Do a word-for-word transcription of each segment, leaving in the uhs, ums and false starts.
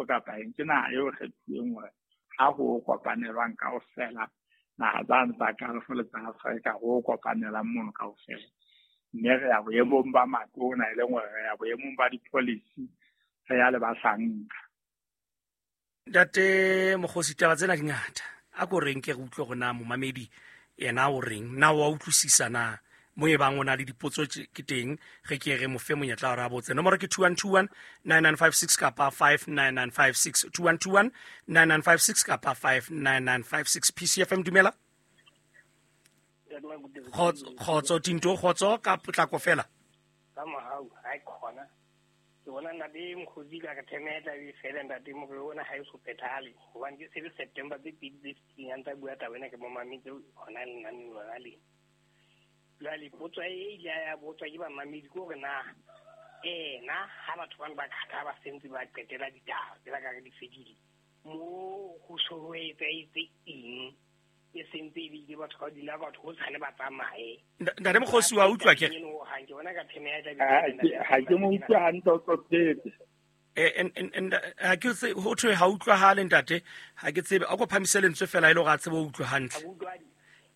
Basotho kapa eng, ke naha eo kgethuweng hore ha ho kopanelwang kaofela, naha tsane tsa Gulf le tsa Afrika ho kopanelang mono kaofela. Mme re ya boemong ba matona, e leng hore re ya boemong ba di-policy, re ya le bahlanka. Ntate Mokgosi, taba tsena di ngata. A ko reng ke re utlwe hore na momamedi yena o reng, na wa utlwisisa na mo e bang o na le dipotso ke teng, re ke re mo fe monyetla hore a botse. Nomoro ke two one two one nine nine five six kapa five nine nine five six, two one two one nine nine five six kapa five nine nine five six. P C F M, dumela. Kgotso Tinto, kgotso ka potlako fela. Ka mohau, ha e khona. Ke bona ntate Mokgosi ka re themeta e fela ntate mo re bona ha e so phethahale. Hobane ke se le September tse pedi tse fetileng a ntsa bua taba ena ke mo mametse hona le nna lona le. Jwale potso e ile ya botswa ke bamamedi ke hore na ena ha batho bana ba khatha ba sentse ba qetela ditaba tsela ka re di fedile, mo ho so ho etsahetse eng e sentse e bile batho ba dula batho ho tshane ba tsamaye. Ntate Mokgosi wa utlwa ke? Ke bona ka theme ya Ha ke mo utlwe hantle, o tlophetse. Eh ha ke tse ho thwe ha utlwahale ntate, ha ke tsebe a ko phamise lentswe fela e le hore a tsebe ho utlwa hantle.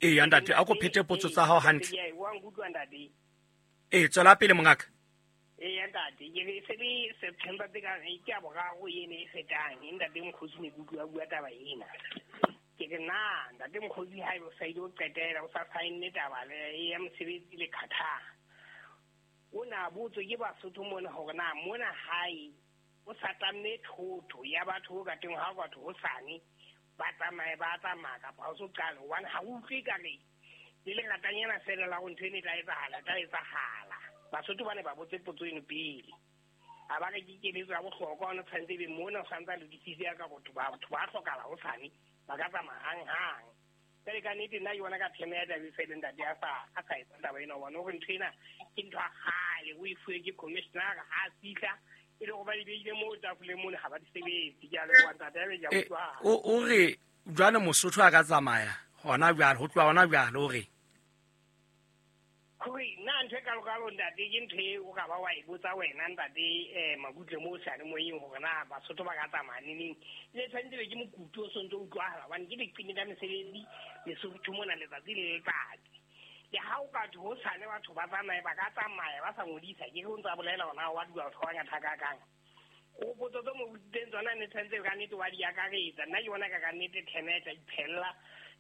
Ee ntate, a ko phete potso tsa hao hantle. Ee, tswela pele mongaka. Ee ntate, ke re se le September tse ka ke a boraro ene e fetang, ntate Mokgosi ne ke utlwa bua taba ena. Ke re na ntate Mokgosi ha o sa ile o qetela o sa saenne taba le ya mosebetsi le Qatar. O na botswe ke Basotho mona hore na mona hae o sa tlamme thotho ya batho ho ka teng ha batho ho sane ba tsamaye ba tsamaya kapa ha o so qale, hobane ha o utlwe ka re le lengatanyana fela la ho ntho ena e tla etsahala, tla etsahala. Basotho ba ne ba botse potso eno pele. A ba re ke keletso ya bohlokwa, ona tshwanetse ebe mona o santsa lokisitse ya ka batho ba batho ba hlokahala ho sane ba ka tsamaya hang-hang. Jwale ka nnete nna ke bona ka theme ya taba e fele ntate a sa a sa etsa taba ena, hobane hore ntho ena ke ntho ya kgale, o e fuwe ke commissioner ha a fihla e le hore ba di beile moo tafoleng mona ha ba di sebetse. Ke a leboha ntate, ya be ke a utlwa. O re jwale Mosotho a ka tsamaya hona jwale, ho tloha hona jwale o re hore nna ntho e kalokalo ntate ke ntho e o ka ba wa e botsa wena ntate um Makutle moo seyalemoyeng hore na Basotho ba ka tsamaya neneng. Le tshwanetse be ke mokutu o sontso utlwahala hobane ke leqeme la mesebetsi Lesotho mona letsatsi le letsatsi. Le ha o ka thwe ho sane batho ba tsamaye ba ka tsamaya ba sa ngodisa, ke ho ntsa bolela hore na wa dula batho ba bangata hakakang. O potso tse mo botsitseng tsona ne tshwanetse ka nnete wa di akaretsa. Nna ke bona ka ka nnete theme e tla iphella,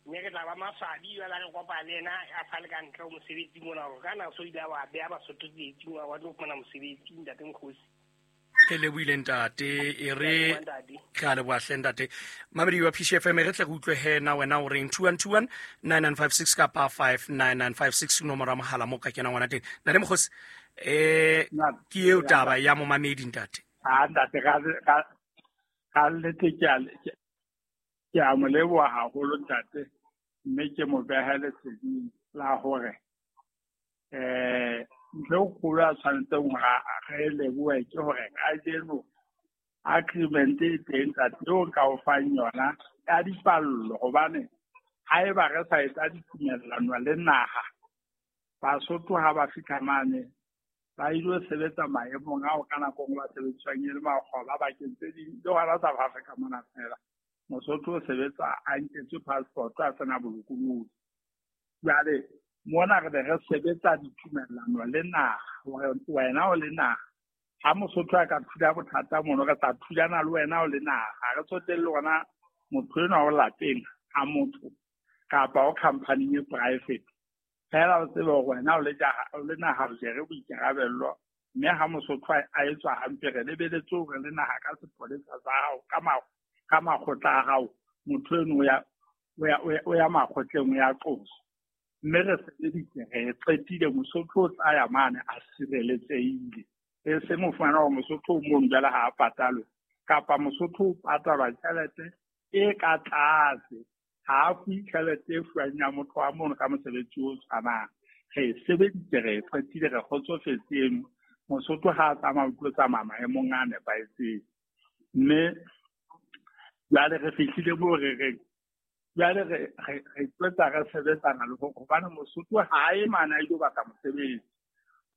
mme re tla ba maswabi jwale re kopa le yena a sa le ka ntle ho mosebetsi mona hore ka na so ile wa beha Basotho tsietsing wa tlo fumana mosebetsi ntate Mokgosi. Ke lebohile ntate, e re ke a leboha hle ntate. Mamedi wa P C F M, re tle re utlwe he na wena o reng. Two one two one nine nine five six kapa five nine nine five six nomoro ya mohala mo ka kenang ngwana teng. Ntate Mokgosi, eh ke eo taba ya momamedi ntate. Ha ntate ka ka nnete ke a ke a mo leboha haholo ntate, mme ke mo behe leseding la hore eh ntho e kgolo a tshwanetseng hore re lebohe ke hore kajeno agreement e teng ntate eo nka o fang yona ya dipallo, hobane haeba re sa etsa ditumellano le naha, Basotho ha ba fihla mane ba ilo sebetsa maemong ao ka nako nngwe ba sebediswang e le makgoba bakeng tse ding le hona South Africa mona fela. Mosotho o sebetsa a nketswe passport a sena bolokolohi. Jwale mona re be re sebetsa ditumellano le naha hore wena o le naha, ha Mosotho a ka thula bothata mono re tla thulana le wena o le naha, ha re tsotelle hore motho enwa o lapeng ha motho kapa o company e private. Fela o tsebe hore wena o le o le naha o jere boikarabello, mme ha Mosotho a etswa hampe re lebeletse hore le naha ka sepolesa sa hao ka ka makgotla a hao, motho eno o ya o ya o ya makgotleng o ya qosa. Mme re sebeditse re qetile, Mosotho o tla ya mane a sireletsehile. E seng o fumana hore Mosotho o mono jwale ha a patalwe, kapa Mosotho o patalwa tjhelete e ka tlase, ha a fuwe tjhelete e fuwang ya motho wa mono ka mosebetsi o tshwanang. Re sebeditse re qetile re kgotsofetse eno. Mosotho ha a tsamaya o tlo tsamaya maemong a nepahetseng. Mme jwale re fihlile moo re reng jwale re re re tletsa re sebetsana le hore hobane Mosotho ha a ye mane a ilo batla mosebetsi,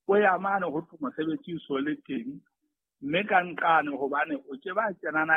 o ya mane ho thwe mosebetsi o so le teng, mme ka nqane hobane o ke ba kena naheng.